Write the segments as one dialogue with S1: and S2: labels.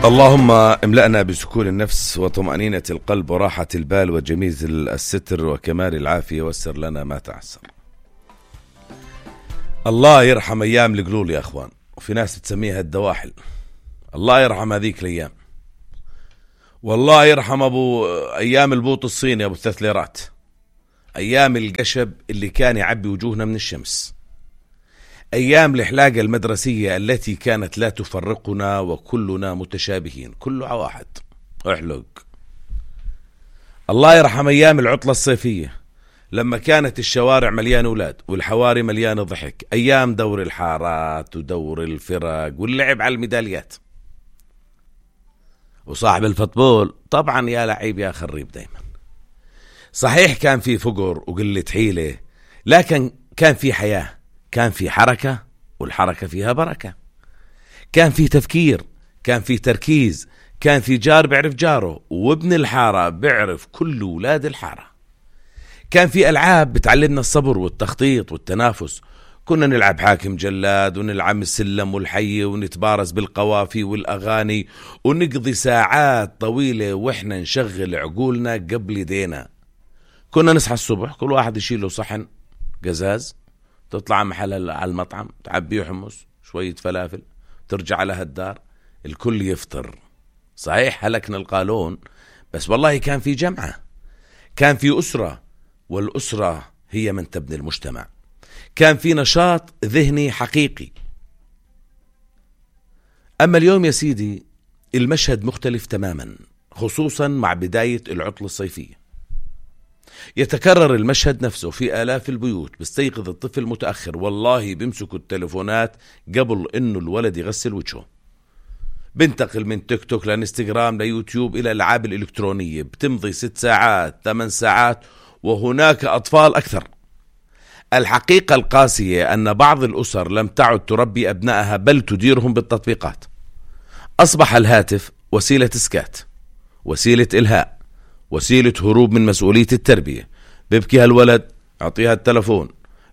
S1: اللهم املأنا بسكون النفس وطمأنينة القلب وراحة البال وجميل الستر وكمال العافية، ويسر لنا ما تعسر. الله يرحم أيام القلول يا أخوان، وفي ناس بتسميها الدواحل. الله يرحم هذيك الأيام، والله يرحم أيام البوط الصيني أبو 3 ليرات، أيام القشب اللي كان يعبي وجوهنا من الشمس، أيام الحلاقة المدرسية التي كانت لا تفرقنا وكلنا متشابهين، كله واحد احلق. الله يرحم أيام العطلة الصيفية لما كانت الشوارع مليانة أولاد والحواري مليانة ضحك، أيام دور الحارات ودور الفرق واللعب على الميداليات. وصاحب الفوتبول طبعا يا لعيب يا خريب دايما. صحيح كان في فقر وقلة حيلة، لكن كان في حياة، كان في حركة، والحركة فيها بركة. كان في تفكير، كان في تركيز، كان في جار بيعرف جاره، وابن الحارة بيعرف كل ولاد الحارة. كان في ألعاب بتعلمنا الصبر والتخطيط والتنافس. كنا نلعب حاكم جلاد، ونلعب السلم والحي، ونتبارز بالقوافي والأغاني، ونقضي ساعات طويلة وإحنا نشغل عقولنا قبل يدينا. كنا نصحى الصبح كل واحد يشيل له صحن قزاز، تطلع محل على المطعم تعبيه حمص شوية فلافل، ترجع لها الدار الكل يفطر. صحيح هلكنا القانون، بس والله كان في جمعة، كان في أسرة، والأسرة هي من تبني المجتمع. كان في نشاط ذهني حقيقي. أما اليوم يا سيدي المشهد مختلف تماما، خصوصا مع بداية العطلة الصيفية. يتكرر المشهد نفسه في آلاف البيوت. بيستيقظ الطفل متأخر، والله بيمسكوا التلفونات قبل إنه الولد يغسل وجهه. بنتقل من تيك توك لانستغرام ليوتيوب إلى الألعاب الإلكترونية، بتمضي 6 ساعات 8 ساعات، وهناك أطفال أكثر. الحقيقة القاسية أن بعض الأسر لم تعد تربي أبنائها بل تديرهم بالتطبيقات. أصبح الهاتف وسيلة إسكات، وسيلة إلهاء، وسيلة هروب من مسؤولية التربية. بيبكي هالولد اعطيها التلفون،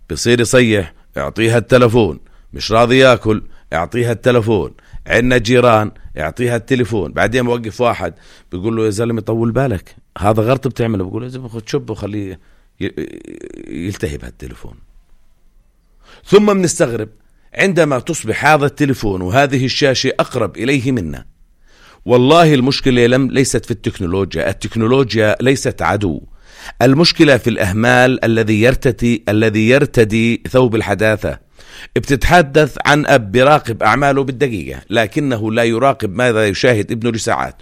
S1: بيصير يصيح اعطيها التلفون، مش راضي ياكل اعطيها التلفون، عندنا جيران اعطيها التلفون. بعدين موقف واحد بيقول له يا زلمة طول بالك هذا غلط بتعمله، بيقول له يا زلمة خد شب وخليه يلتهي بهالتلفون. ثم بنستغرب عندما تصبح هذا التلفون وهذه الشاشة أقرب إليه منا. والله المشكلة ليست في التكنولوجيا، التكنولوجيا ليست عدو، المشكلة في الأهمال الذي يرتدي ثوب الحداثة. بتتحدث عن أب براقب أعماله بالدقيقة، لكنه لا يراقب ماذا يشاهد ابنه لساعات.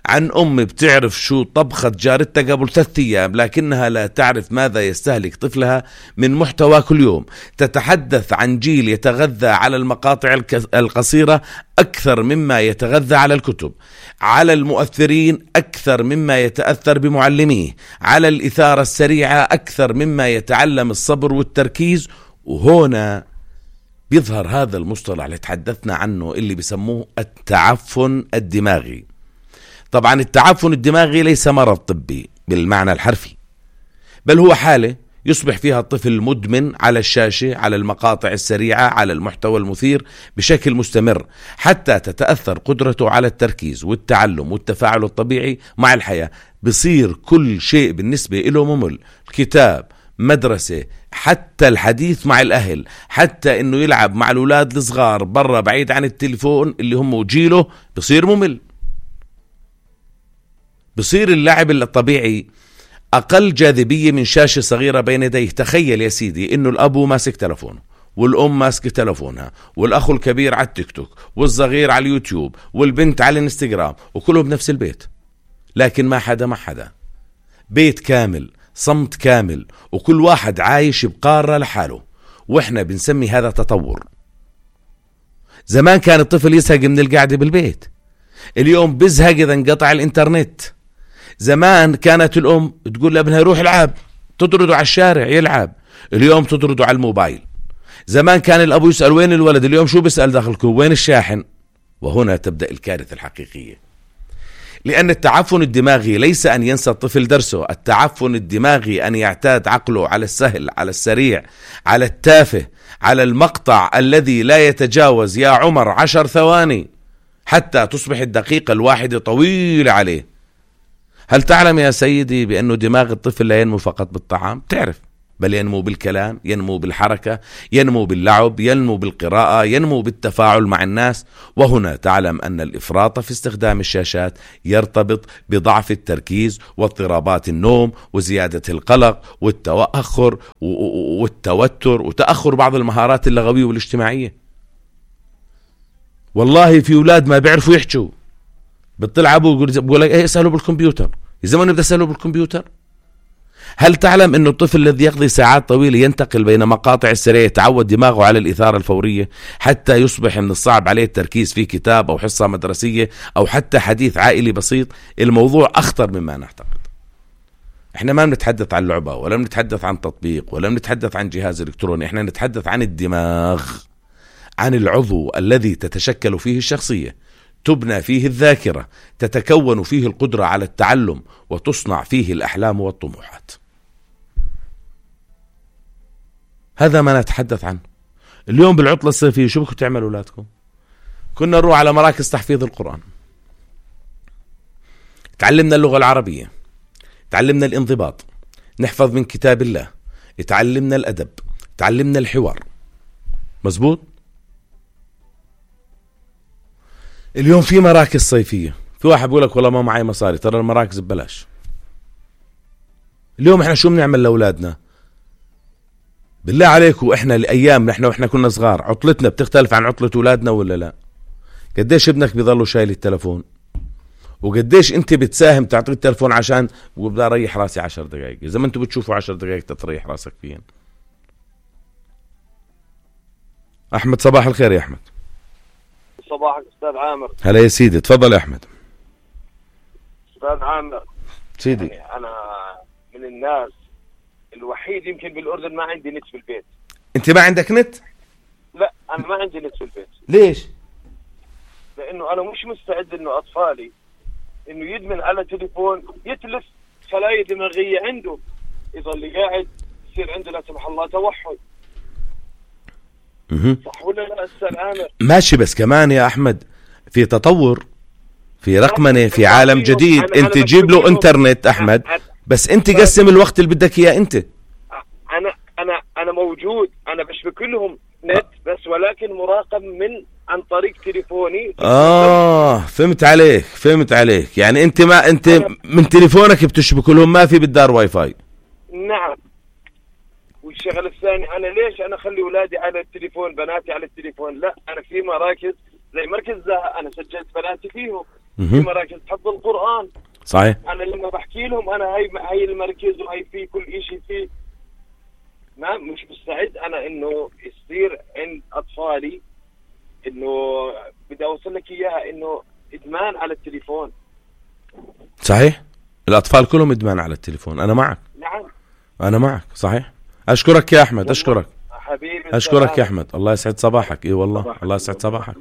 S1: عن أم بتعرف شو طبخة جارتها قبل 3 أيام، لكنها لا تعرف ماذا يستهلك طفلها من محتوى كل يوم. تتحدث عن جيل يتغذى على المقاطع القصيرة أكثر مما يتغذى على الكتب، على المؤثرين أكثر مما يتأثر بمعلميه، على الإثارة السريعة أكثر مما يتعلم الصبر والتركيز. وهنا بيظهر هذا المصطلح اللي تحدثنا عنه اللي بيسموه التعفن الدماغي. طبعا التعفن الدماغي ليس مرض طبي بالمعنى الحرفي، بل هو حالة يصبح فيها الطفل مدمن على الشاشة، على المقاطع السريعة، على المحتوى المثير بشكل مستمر، حتى تتأثر قدرته على التركيز والتعلم والتفاعل الطبيعي مع الحياة. بصير كل شيء بالنسبة له ممل، الكتاب، مدرسة، حتى الحديث مع الأهل، حتى إنه يلعب مع الأولاد الصغار برا بعيد عن التليفون اللي هم جيله بصير ممل. بصير اللعب الطبيعي أقل جاذبية من شاشة صغيرة بين يديه. تخيل يا سيدي إنه الأبو ماسك تلفونه، والأم ماسك تلفونها، والأخ الكبير على التيك توك، والصغير على اليوتيوب، والبنت على الانستغرام، وكلهم بنفس البيت، لكن ما حدا مع حدا. بيت كامل، صمت كامل، وكل واحد عايش بقارة لحاله. وإحنا بنسمي هذا تطور. زمان كان الطفل يزهق من القعدة بالبيت، اليوم بزهق إذا انقطع الإنترنت. زمان كانت الأم تقول لابنها روح العب، تطرده على الشارع يلعب، اليوم تطرده على الموبايل. زمان كان الأبو يسأل وين الولد، اليوم شو بيسأل داخلكم وين الشاحن. وهنا تبدأ الكارثة الحقيقية، لأن التعفن الدماغي ليس أن ينسى الطفل درسه. التعفن الدماغي أن يعتاد عقله على السهل، على السريع، على التافه، على المقطع الذي لا يتجاوز يا عمر 10 ثواني. حتى تصبح الدقيقة الواحدة طويلة عليه. هل تعلم يا سيدي بأنه دماغ الطفل لا ينمو فقط بالطعام؟ تعرف، بل ينمو بالكلام، ينمو بالحركة، ينمو باللعب، ينمو بالقراءة، ينمو بالتفاعل مع الناس. وهنا تعلم أن الإفراط في استخدام الشاشات يرتبط بضعف التركيز واضطرابات النوم وزيادة القلق والتأخر والتوتر وتأخر بعض المهارات اللغوية والاجتماعية. والله في أولاد ما بيعرفوا يحكوا، بتطلع أبوه بيقول لك إيه اسألوا بالكمبيوتر، يا زلمة بدي أسأله بالكمبيوتر. هل تعلم أن الطفل الذي يقضي ساعات طويلة ينتقل بين مقاطع السريع يتعود دماغه على الإثارة الفورية حتى يصبح من الصعب عليه التركيز في كتاب أو حصة مدرسية أو حتى حديث عائلي بسيط؟ الموضوع أخطر مما نعتقد. احنا ما بنتحدث عن لعبة ولا بنتحدث عن تطبيق ولا بنتحدث عن جهاز إلكتروني، احنا نتحدث عن الدماغ، عن العضو الذي تتشكل فيه الشخصية، تبنى فيه الذاكرة، تتكون فيه القدرة على التعلم، وتصنع فيه الأحلام والطموحات. هذا ما نتحدث عنه. اليوم بالعطلة الصيفية شو بدكم تعملوا أولادكم؟ كنا نروح على مراكز تحفيظ القرآن، تعلمنا اللغة العربية، تعلمنا الانضباط، نحفظ من كتاب الله، تعلمنا الأدب، تعلمنا الحوار. مزبوط؟ اليوم في مراكز صيفية، في واحد بيقول لك والله ما معي مصاري، ترى المراكز ببلاش. اليوم احنا شو بنعمل لأولادنا؟ بالله عليكم احنا الأيام نحن واحنا كنا صغار عطلتنا بتختلف عن عطلة أولادنا ولا لا؟ قديش ابنك بيضلوا شايل التلفون؟ وقديش انت بتساهم تعطيه التلفون عشان وبدأ اريح راسي 10 دقائق؟ اذا ما انتوا بتشوفوا 10 دقائق تريح راسك فيهن. احمد صباح الخير يا احمد.
S2: صباحك استاذ عامر.
S1: هلا يا سيدي، تفضل يا احمد.
S2: استاذ عامر
S1: سيدي،
S2: يعني انا من الناس الوحيد يمكن بالاردن ما عندي نت في البيت.
S1: انت ما عندك نت؟
S2: لا انا ما عندي نت في البيت.
S1: ليش؟
S2: لانه انا مش مستعد انه اطفالي انه يدمن على تليفون يتلف خلايا دماغيه عنده، يظل قاعد يصير عنده لا سمح الله توحد. صح ولا لا استاذ عامر؟
S1: ماشي، بس كمان يا احمد في تطور، في رقمنه، في عالم جديد. انت جيب له انترنت احمد، بس انت قسم الوقت اللي بدك اياه انت.
S2: انا موجود، انا بشبك لهم نت بس ولكن مراقب عن طريق تليفوني.
S1: فهمت عليك. يعني انت من تليفونك بتشبك لهم، ما في بالدار واي فاي.
S2: نعم. والشغل الثاني، انا ليش انا اخلي اولادي على التليفون، بناتي على التليفون؟ لا، انا في مراكز زي مركز زها انا سجلت بناتي فيهم. في مراكز حفظ القرآن.
S1: صحيح.
S2: انا لما بحكي لهم انا هاي المركز وهي في كل شيء فيه، ما مش مستعد انا انه يصير عند اطفالي انه بدي اوصل لك اياها انه ادمان على التليفون.
S1: صحيح، الاطفال كلهم ادمان على التليفون. انا معك.
S2: نعم
S1: انا معك، صحيح. اشكرك يا احمد، اشكرك
S2: حبيبي،
S1: اشكرك يا احمد. الله يسعد صباحك. اي والله الله يسعد صباحك.